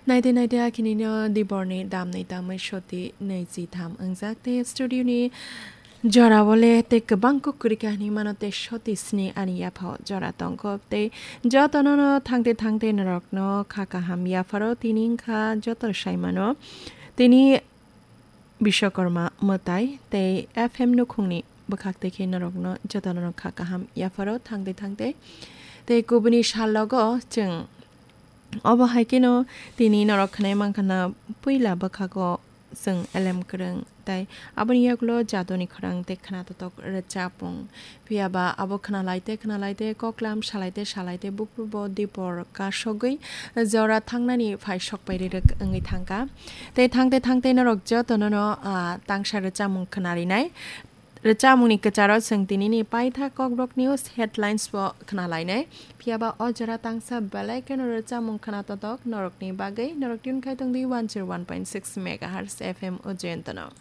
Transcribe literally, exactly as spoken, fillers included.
Naide naide akhini no diborni damni tamwi soti naichi tham wngjak tei studio ni jora bole tei kwbang kuk kwrwi kahini mano tei soti sni ani yaphao jora tongkho tei jotono no thangte thangte norokno kha kaham yapharo tini wngkha joto saimano tini Biswakarma mwtai tei F M nukhungni bwkhak tei khe norokno jotono no kha kaham yapharo thangte thangte tei kubuni salogo chwng Obo hai kheno tini norok khwnai mankha na puila bwkhago chwng elem kwrwng tei aboni yagulo jadoni khorang tei khwnatotok rwchapmung. Phiyaba abo khwnalai tei khwnalai tei koklam salai tei salai tei buphurbo dipor kasogwi jora thangnani phai sokpai rirwk wngwi thangkha. Tei thangte thangte norok jotono no, ah, tangsa rwchapmung khwnarinai. Rwchapmungni kwcharo chwng tinini paitha Kokborok News headlines bo khwnalainai. Phiyaba o jora tangsa belai kheno rwchapmung khwnatotok norokni bagwi norok tune khai tongdi one zero one point six megahertz F M o Jayantono.